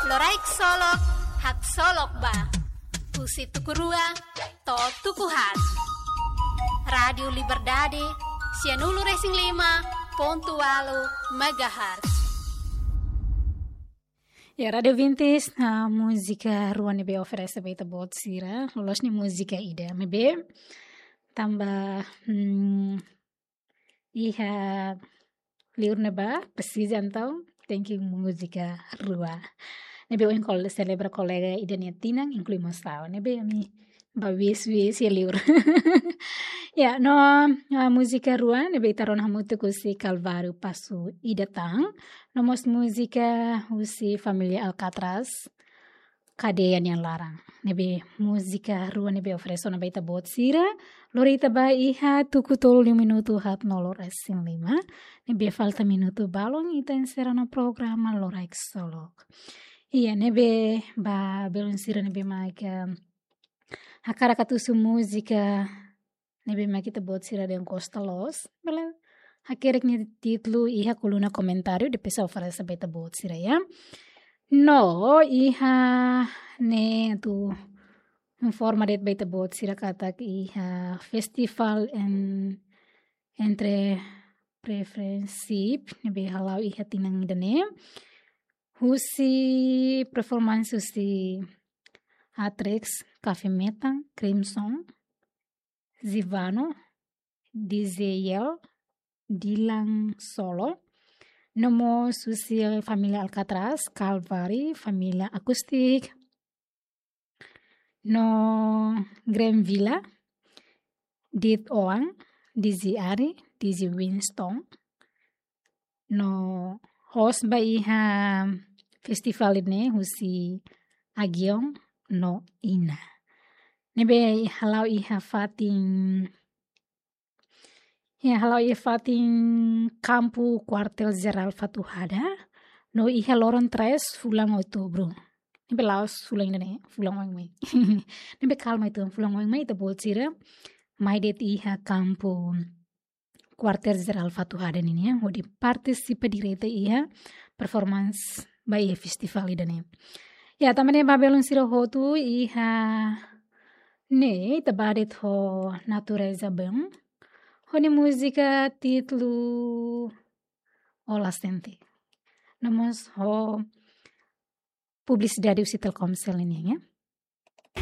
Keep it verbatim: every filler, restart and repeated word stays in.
Loraik Solok, haksolok ba. Husi tuku rua to'o tuku haat. Rádiu Liberdade, sianulu-resin-lima pontu ualu megahertz. Ya, Rádiu Vintis, ah, múzika rua ne'ebé oferese ba ita-boot sira. Loloos ne'e múzika ida. Maibé, tanba, hmm, iha liur ne'ebá, presiza entaun, tenke múzika rua. Ne'ebé ohin kol-, selebra kolega ida nia tinan, inklui mós ha'u. Ne'ebé ami ba wis-wis iha liur. Ya, no, ah, múzika rua, ne'ebé ita rona hamutuk husi Kalváriu Passo ida tan. No mós múzika husi família Alcatraz, Kadeia nia Laran. Ne'ebé múzika rua ne'ebé oferese ona ba ita-boot sira. Lori ita ba iha tuku tolu liu minutu haat-nulu-resin-lima. Ne'ebé falta minutu balun ita enserra ona programa Loraik Solok. Iya, ne'ebé ba belun sira ne'ebé mak hakarak atu husu múzika ne'ebé mak ita-boot sira dehan gosta loos, bele hakerek nia títulu iha koluna komentáriu, depois ha'u oferese ba ita-boot sira, ya. No, iha ne'e atu informa de'it ba ita-boot sira katak iha festival en-, entre preferensive, ne'ebé hala'o iha tinan ida-ne'e. Husi performance husi Atrex, Café Metan, Crimson, Zivano, D J Yel, Dylan Solo, no mós husi família Alcatraz, Calvary, família Acoustic, no Grand Villa, Dit Oan, D J Ari, D J Winston, no host ba iha festival ne'e husi Agion no Ina. Ne'ebé hala'o iha fatin, ya, hala'o iha fatin kampu Kuartel Jerál Fatuhada, no iha loron tres fulan Outubru. Ne'ebé la'ós fulan ida-ne'e, fulan oin mai. Ne'ebé kalma uitoan, fulan oin mai ita-boot sira mai de'it iha kampu Kuartel Jerál Fatuhada nian, hodi partisipa direta iha performance ba iha festival ida-ne'e. Ya, tanba ne'e ba belun sira hotu iha ne'e ita ba de'it ho Natureza Band. Ho nia múzika títulu Ola Sente. No mós ho publisidade husi Telkomsel nian, ya.